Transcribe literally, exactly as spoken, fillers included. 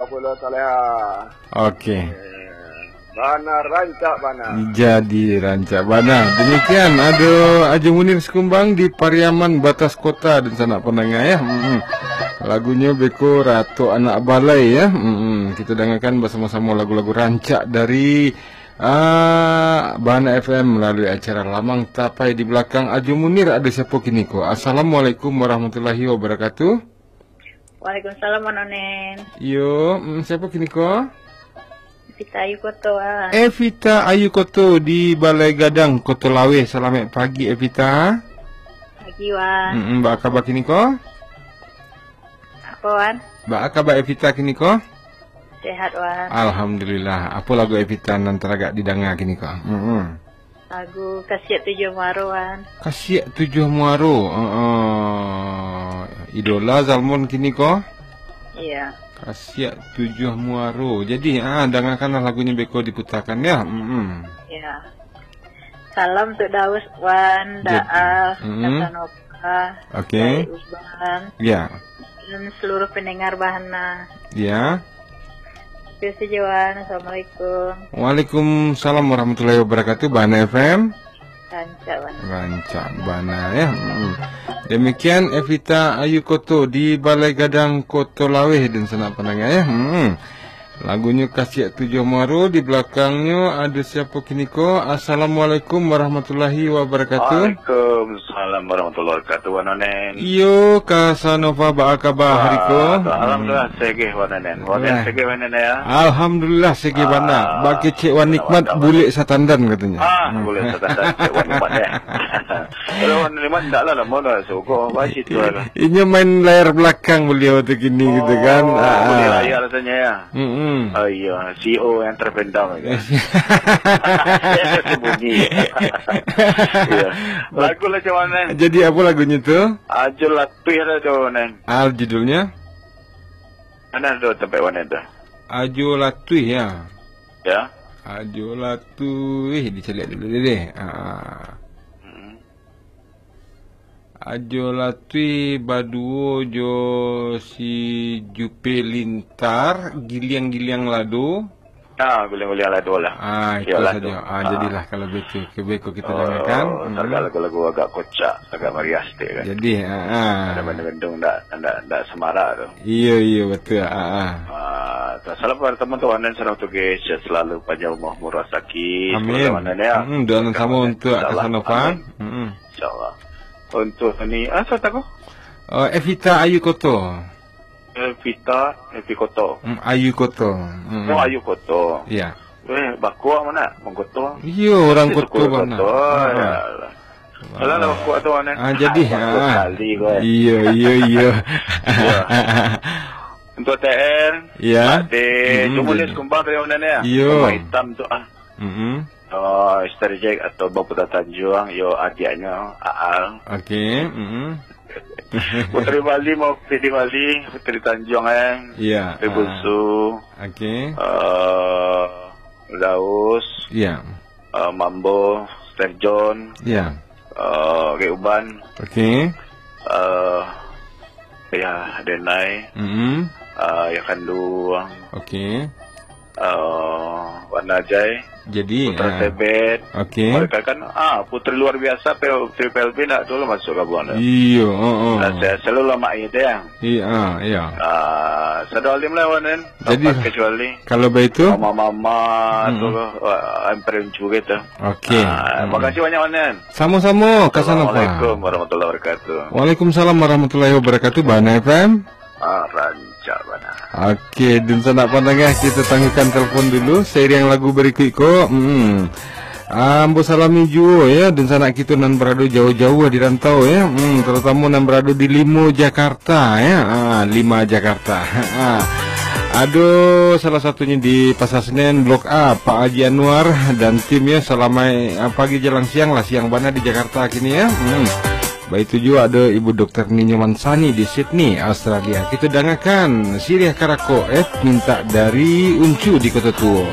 Pulau Saleha. Okey. Eh, bana rancak bana. Jadi rancak bana. Demikian, ado Ajo Munir Sikumbang di Pariaman, Batas Kota, dunsanak pandanga, ya. Mm-mm. Lagunyo beko Ratok Anak Balai, ya. Mm-mm. Kita dangakan basamo-samo lagu-lagu rancak dari, ah, Bana F M melalui acara Lamang Tapai. Di balakang Ajo Munir ado siapo kini ko? Assalamualaikum warahmatullahi wabarakatuh. Waalaikumsalam, Wan Onen. Yo, mm, siapo kini ko? Evita Ayu Koto, Wan. Evita Ayu Koto di Balai Gadang, Koto Laweh. Salamaik pagi, Evita. Pagi, Wan. Mm-mm, baa kaba kini ko? Apo, Wan? Baa kaba Evita kini ko? Sehat, Wan. Alhamdulillah. Apo lagu Evita nan taragak didanga kini ko? Mm-mm. Lagu Kasiak Tujuah Muaro, Wan. Kasiak Tujuah Muaro. Heeh. Idola Zalmon kini ko? Iya. Kasiak Tujuah Muaro. Jadi, ah, dangakanlah lagunyo beko diputakan, ya. Mm-mm. Iya. Salam untuk Daus, Wan, Jad-, Daaf, mm-mm. Kasanova, Oke. Jai Uban, Ya. dan seluruh pendengar Bahana. Ya. Terima kasih, Wan. Assalamualaikum. Waalaikumsalam warahmatullahi wabarakatuh. Bahana F M. Rancak bana. Rancak bana, ya. Hmm. Demikian Evita Ayu Koto di Balai Gadang, Koto Laweh, dunsanak pandanga, ya. Hmm. Lagunyo Kasiak Tujuah Muaro, di balakangnyo ado siapo kini ko? Assalamualaikum warahmatullahi wabarakatuh. Waalaikumsalam warahmatullahi wabarakatuh, Wan Onen. Iyo, Kasanova, baa kaba hari ko? Wah, alhamdulillah, Hmm. segeh, Wan Onen. Wan Onen Wah. segeh, Wan Onen, ya? Alhamdulillah, segeh bana. Ah, Bak kecek Wan Nikmat, mantap, bulek satandan katonyo. Ah, Hmm. bulek satandan, cek Wan Nikmat, ya. Kalau Wan Nikmat, ndak lah, lamo lah, suko, apa situ lah. Inyo main layar belakang beliau tu kini, gitu kan. Oh, Ah, bulek ah. layar rasanya, ya? Mm-mm. Oh, iya, C E O yang terpendam, ya. Sembunyi. Iya. Lagu lah, macam mana? Jadi, apa lagunyo tu? Ajo Latuih lah tu, Nen. Ah, judulnya? Mana tu tempat mana tu? Ajo Latuih, ya? Ya. Ajo Latuih, dicaliak dulu deh. Ah. Hmm. Ajo Latuih baduo jo si Jupe Lintar, Giliang-Giliang Lado. Ah, Giliang-Giliang Lado lah. Ah, itu Yo, saja. Lado. Ah, Ah. jadilah kalau begitu. Ke beko kita Oh, dengarkan. Mm-mm. Agak lagu-lagu agak kocak, agak meriah sikit kan. Jadi, ah, ah. Ada bendung-bendung ndak, ndak, ndak semarak tu. Iyo, iyo, betul. Ah, ah. Ah, salam kepada teman tu, Wan Onen, salam tu, guys. Sehat selalu, panjang umur, murah rezeki. Amin. Semoga Wan Onen, ya. Mm-mm, doa nan Semoga sama Wan Onen, untuk insya Allah. Kasanova. Amin. Mm-mm. Insya Allah. Untuk ni, ah, siapa tu? Oh, Evita Ayu Koto. Evita, Evi Koto. Mm, Ayu Koto. Mm-mm. Oh, Ayu Koto. Ya. Eh, bakua mana? Mangkoto. Iyo, orang Koto bana. Koto. Ah. Ya Allah. Alah, lah, bakua tu, Wan Onen. Ah, jadi, Bakua ah. sekali, kau, eh. Iyo, iyo, iyo. Iya. Untuk T R, Ya. Pak De, Mm-mm, cuma dia jadi. sekumbang tadi, Wan Onen, ya? Iyo. Sekumbang hitam tu, ah. Mm-mm. Oh, Mister Jack atau Bang Putra Tanjuang, yo, adiaknyo, Aal. Oke, mm-mm. Putri Bali, mau Putri Bali, Putri Tanjuang, eh. Iya, Putri ah. Bunsu. Oke. Eh, Daus. Iya. Eh, Mambo, Mister John. Iya. Eh, Rek Uban. Oke. Eh, ya, Denai. Mm-mm. Eh, ya, Kanduang. Oke. Eh, Wan Ajai. Jadi, Putra ah. Tebet. Oke. Mereka kan, ah, putri luar biasa, P L, Putri P L B ndak dulu masuk gabungan tu. Iyo, oh, oh. Nah, saya selalu lama itu ya. Iya, ah, iya. Ah, Sado Alim lah, Wan, kan? Jadi, Tanpa kecuali kalau begitu, mama-mama mm-mm. tu, wah, Emperor juga tu. Oke. Ah, mm-mm. Makasih banyak, Wan, kan? Sama-sama, Kasanova. Assalamualaikum warahmatullahi wabarakatuh. Waalaikumsalam warahmatullahi wabarakatuh, Bana F M. Ah, rancak bana. Oke, dunsanak pandanga, kita tangguhkan telepon dulu. Seiring lagu berikut ko, hmm. Ah, ambo salami juo, ya, dunsanak kito nan barado jauah-jauah di rantau, ya. Hmm, terutama nan barado di Limo Jakarta, ya. Ah, Lima Jakarta. Ah. Ado salah satunyo di Pasar Senen, Blok A, Pak Haji Anwar dan tim, ya. Salamaik, ah, pagi jalang siang lah, siang bana di Jakarta kini, ya. Hmm. Baitu juo ado Ibu Doktor Ninyo Mansani di Sydney, Australia. Kito dangakan Siriah Karako, eh, mintak dari Uncu di Kota Tuo.